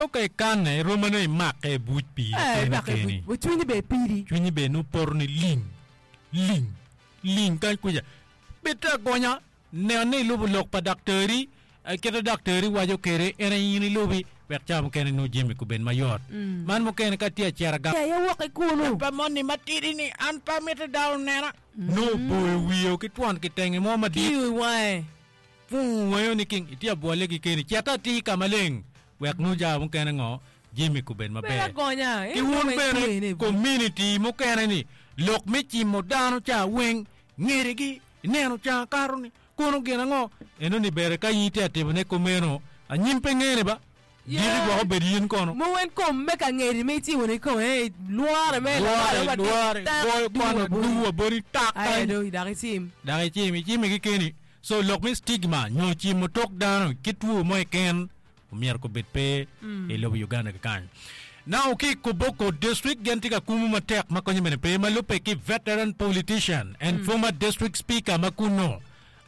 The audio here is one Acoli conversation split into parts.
Nongo ka ikanne, rom ma nongo imakke i buc piri Eh, keni imakke i keni. buc, wa cwinyi bene pidi. Cwinyi bene nongo poto ni ling, ling, ling kany kuca. Bed te agonya, nen ni ilubo lok pa daktari, eh, kit ma daktari waco kwede en aye in ilubi wek ca mukene nongo jami kubed mayot. Man mukene ka tye acito gang. Aye wok ki kunu. Pa moni matidi-ni, an pe amito dano onena. Nongo oboyo wiye ki twon kitenge mo madit. Kiyo i wange. Pwongo wango ni king itye abwolle kikeni, cet atir ka maleng wek nongo cawa mukene ngo jami kubed Bed maber. agonya, Ki in wun dong bene itwene i buc. community mukene ni lok me cimo dano ca weng ngerigi ineno ca kato ni kono gin ango eno ni bere ka in itye atimone kumeno anyim pe ngene ba diki Yeah. gwok obed in kono. Mogo en kom me ka ngeri ma icimo ni kome eh, lwore me Lwore, lakwalo ma lwore, tak goyo duwa kwana boti. duwa boti tak Aye kany. dong dok icim. Dok icim, icime kikeni. So lok me stigma nyo cimo tok dano ki two mo keken omyero kubed pe i lobo Uganda kikany. Now ki i Koboko district gin tye ka kumu matek ma konye bene pe ma lubbe ki veteran politician and former district speaker ma kunnu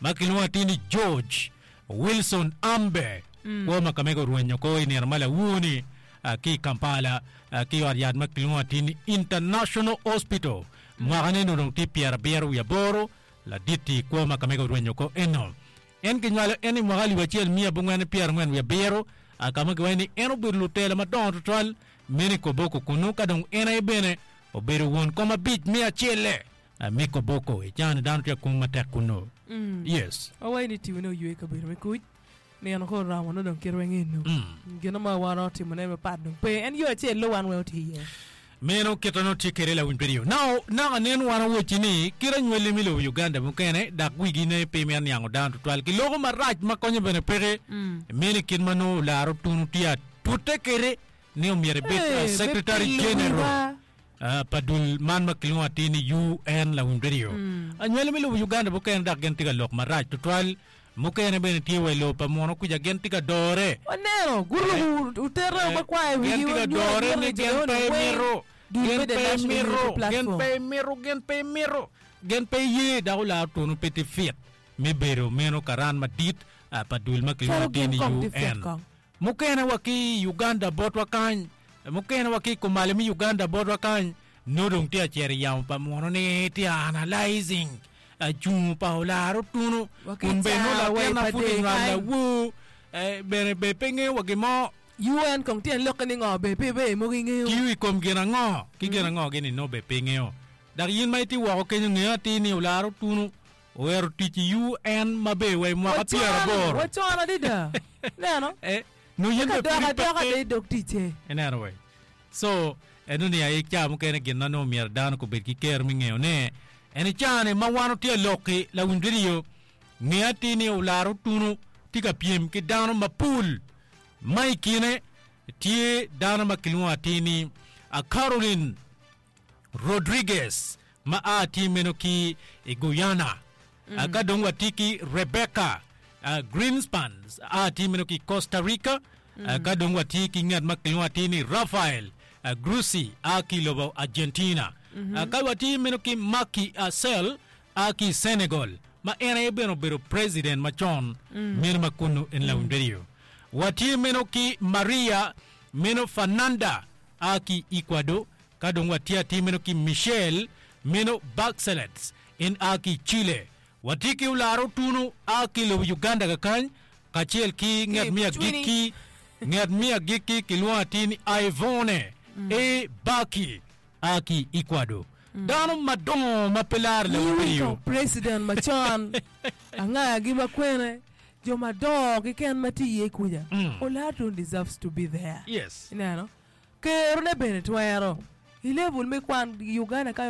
ma kilwongo atir ni George Wilson Ambe kwo ma kamege orwenyo ko i nino ma lawur-ni ki i Kampala ki i ot yat ma kilwongo atir ni International Hospital mwakane onongo tye pyerabiro wiye aboro Ladit-ti kwo ma kamege orwenyo oko eno. En kinywalo en i mwaka alip acel miya abongwen pyerangwen wiye abiro, a ka ma kiwaco ni en obedo lutela madongo twatwal meno i Koboko kunnu, ka dong en aye bene obedo won kom abic me acelle me Koboko. I caa-ni dano tye ka kumu matek kunnu. Yes. Wawaco ni timone oywe i kabedo me kuc. Nino ka oromo nongo dong kite weng eno. Gin mo ma wan romo timone mapat dong pe. En yo acel-lu wan weng otye iye. Meno kite nongo tye kwede lawiny radio. Now, naka nen wan awocci ni kit anywali me lobo Uganda mukene dok wigi ne pe mito niango dano tutwal. Kiloko marac ma konyo bene peke. Meno i kit ma nongo olaro tunu tye atute kwede ni omyero ebed Ee, me Secretary pilo General. wiwa. pa dul man ma kilwongo atir ni UN lawiny radio. Anywali me lobo Uganda mukene dok gin tye ka lok marac tutwal. Mukene bene tye wa i lobo pa muno kuca gin tye ka dore. Waneno, guruko otereo makwar i wigi Gin tye ka ma nyuto dore anyuta ni ni gin jo-ni pe weng mito, dul gin me The pe National mito, Unity gin Platform. pe mito, gin pe mito, gin pe ye dok olaro tunu pe tye fit me bedo meno karan madit pa dul ma kilwongo Calo atir gin ni kong tye fit UN. kong. Mukene wa ki i Uganda botwa kany, mukene wa ki i kumalo me Uganda botwa kany, nongo dong tye ka cito i yamo pa munu ni tye ka analyzing cungo pa olaro tunu Wa ki kun bene nongo caa wa i latin ma pud Padee inywalo kany. lawor eh, bene be pe ngeyo wa gin mo. UN kong tyen lokke ni ngo be pe be mogo ingeyo. Tiyo i kom gin ango ki gin ango gini nongo be pe ingeyo. Dok in ma itye woko kenyo ngeyo atir ni olaro tunu Owero tic i UN maber wa i mwaka pyeraboro. Wacon adada. Ineno? Eh, nongo yin Eka bene pud dok adoka ipekke. de i dog ticce. Ineno wai? So, eno ni aye ca mukene gin ma nongo myero dano gubed ki kero me ngeyo ne, en i ca-ni ma wan watye ka lok-ki, lawiny redio, nge atir ni Olara Otunu tye ka pyem ki dano mapol ma i kine tye dano ma kilwongo atir ni Caroline Rodriguez ma a tye meno ki i Guyana. Mm. Ka dong watye ki Rebecca uh, Greenspan a tye meno ki i Costa Rica. Mm. Uh, ka dong watye ki ngat ma kilwongo atir ni Rafael uh, Grossi a ki i lobo Argentina. Mm -hmm. uh, ka watye meno ki Macky uh, Sall a ki i Senegal ma en aye bene obedo president macon mm. meno ma kunu en lawiny mm. radio. Watye meno ki Maria meno Fernanda a ki i Ecuador, ka dong watye atir meno ki Michelle meno Bachelet en a ki i Chile. Watye ki Olara Otunu a ki i lobo Uganda kakany kacel ki nget me agikki nget me agikki kilwongo atir ni Ivone A. Baki a ki i Ecuador. Dano madongo ma pe laro lobo Iwinjo piriyo. president macon angagi ma kwene jo madongo keken ma tye iye kuca Olara Otunu deserves to be there. Yes. Ineno? Kerone bene twero. I level me kwan i Uganda ka.